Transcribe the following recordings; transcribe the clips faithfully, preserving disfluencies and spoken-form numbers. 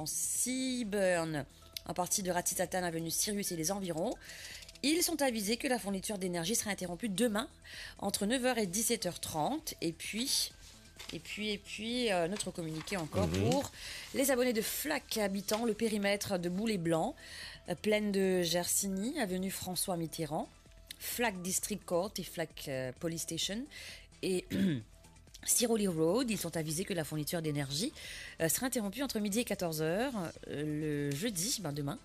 Seaburn, en partie de Ratisatan, avenue Sirius et les environs. Ils sont avisés que la fourniture d'énergie sera interrompue demain entre neuf heures et dix-sept heures trente. Et puis, et puis, et puis, euh, notre communiqué encore pour les abonnés de Flac habitant le périmètre de Boulay Blanc, euh, plaine de Gersigny, avenue François Mitterrand, Flac District Court et Flac, euh, Police Station et Siroli Road. Ils sont avisés que la fourniture d'énergie, euh, sera interrompue entre midi et quatorze heures, euh, le jeudi, ben demain,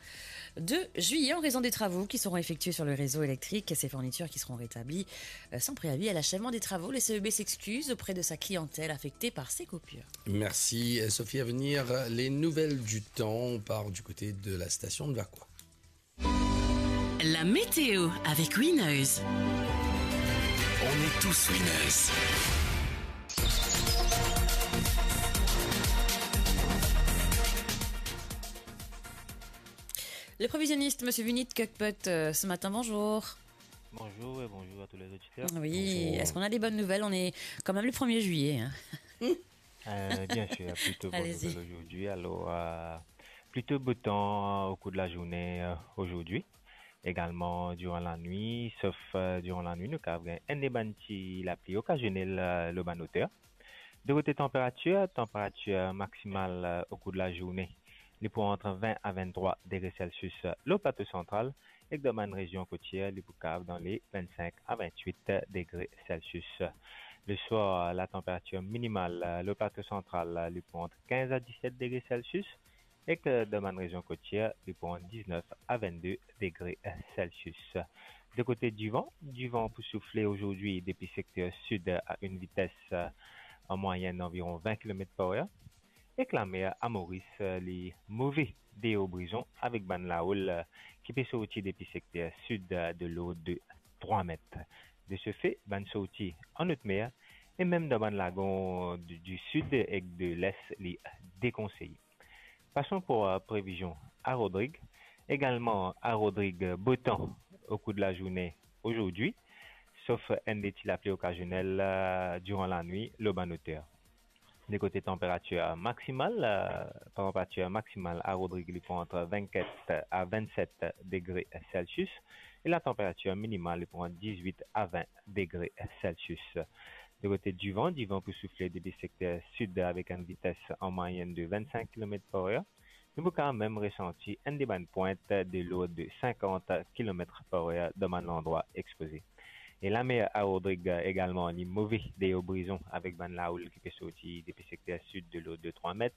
deux juillet, en raison des travaux qui seront effectués sur le réseau électrique. Ces fournitures qui seront rétablies, euh, sans préavis à l'achèvement des travaux. Le C E B s'excuse auprès de sa clientèle affectée par ces coupures. Merci, euh, Sophie. À venir, les nouvelles du temps. On part du côté de la station de Vacoas. La météo avec Winners. On est tous winners. Le prévisionniste, monsieur Vinit Kokpot, euh, ce matin, bonjour. Bonjour et bonjour à tous les auditeurs. Oui, bonjour. Est-ce qu'on a des bonnes nouvelles ? On est quand même le premier juillet, hein. Euh, bien sûr, plutôt bonne nouvelle aujourd'hui. Alors, euh, plutôt beau temps au cours de la journée, euh, aujourd'hui. Également durant la nuit, sauf, euh, durant la nuit, nou kav gagn enn de bann ti lapli okazionel, euh, lor bann oter. De kote tanperatir, tanperatir maksimal, euh, au cours de la journée, li pou ant vin a vinn-trwa degre Celsius, euh, lor plato santral, ek dan bann rezion kotier, li pou kav dan le vinn-sink a vinn-wit degre Celsius. Le soir, la tanperatir minimal, euh, lor plato santral, euh, li pou ant kinz a diset degre Celsius, ek, euh, dan bann rezion kotier, li pou ant diznef a vinn-de degre Celsius. De kote divan, divan pou soufle azordi depi sekter sid a enn vites, euh, an mwayenn anviron vin kilomet par er. Ek lamer a Moris, euh, li move deor brizon avek bann laoul, euh, ki pe sorti depi sekter sid, euh, de lord de trwa met. De se fe, bann sorti an otmer e mem dan bann lagon di, di sid ek de les, li dekonseye. Passons pour, euh, prévision à Rodrigues. Également à Rodrigues, beau temps au cours de la journée aujourd'hui, sauf enn de ti lapli okazionel, euh, durant la nuit, lor bann oter. De kote tanperatir maksimal, euh, tanperatir maksimal a Rodrigues, li pou ant vinn-kat a vinn-set degre Celsius, e la tanperatir minimal, li pou ant diz-wit a vin degre Celsius. De kote divan, divan pou soufle depi sekter sid avek enn vites an mwayenn de vinn-sink kilomet par er. Nou pou kanmem resanti enn de bann pwint de lord de sinkant kilomet par er dan bann landrwa expoze. E lamer a Rodrigues egalman, li move deor brizon avek bann laoul ki pe sorti depi sekter sid de lord de trwa met.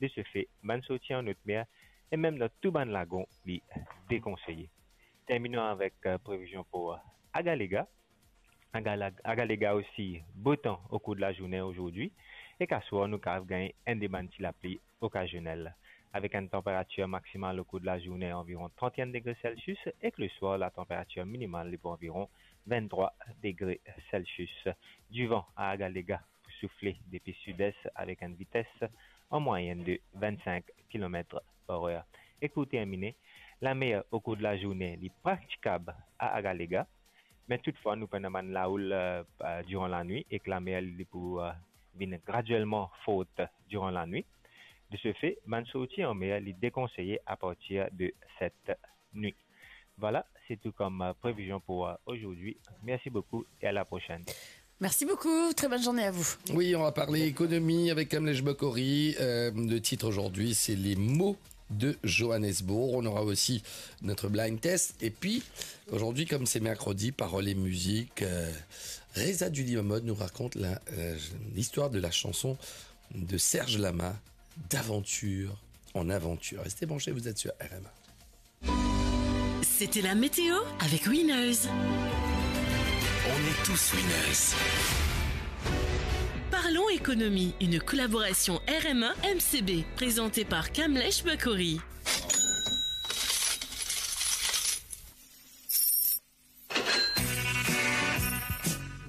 De se fe, bann sorti an otmer e mem dan tou bann lagon, li dekonseye. Terminons avec, euh, prévision pour, euh, Agalega. Agala-, Agalega aussi, beau temps au cours de la journée aujourd'hui. Ek aswar, nou kav gagn enn de bann ti lapli okazionel, avek enn tanperatir maksimal au cours de la journée anviron trant-enn degre Celsius, ek le soir, la tanperatir minimal, li pou anviron vinn-trwa degre Celsius. Divan a Agalega pou soufle depi sid-es avek enn vites an mwayenn de vinn-sink kilomet par er. Ek pou termine, lamer au cours de la journée, li pratikab a Agalega, me toutfwa, nou pena bann laoul, euh, euh, durant la nuit, ek lamer, li pou, euh, vinn graduellement forte durant la nuit. De ce fait, bann sorti an mer, li dekonseye a partir de cette nuit. Voilà, c'est tout comme, euh, prévision pour, euh, aujourd'hui. Merci beaucoup et à la prochaine. Merci beaucoup, très bonne journée à vous. Oui, on va parler économie avec Kamlesh Bokory. Euh, le titre aujourd'hui, c'est les mots de Johannesburg. On aura aussi notre blind test. Et puis, aujourd'hui, comme c'est mercredi, parole et musique, euh, Reza Dulimamod nous raconte la, euh, l'histoire de la chanson de Serge Lama, D'aventure en aventure. Restez branchés, vous êtes sur R M A. C'était la météo avec Winners. On est tous winners. Parlons économie, une collaboration R M A M C B, présentée par Kamlesh Bokory.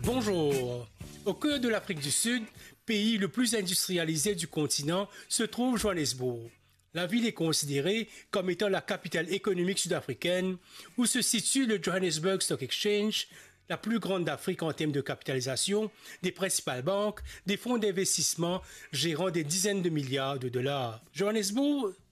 Bonjour. Au cœur de l'Afrique du Sud, pays le plus industrialisé du continent, se trouve Johannesburg. La ville est considérée comme étant la capitale économique sud-africaine, où se situe le Johannesburg Stock Exchange, la plus grande d'Afrique en termes de capitalisation, des principales banques, des fonds d'investissement gérant des dizaines de milliards de dollars. Johannesburg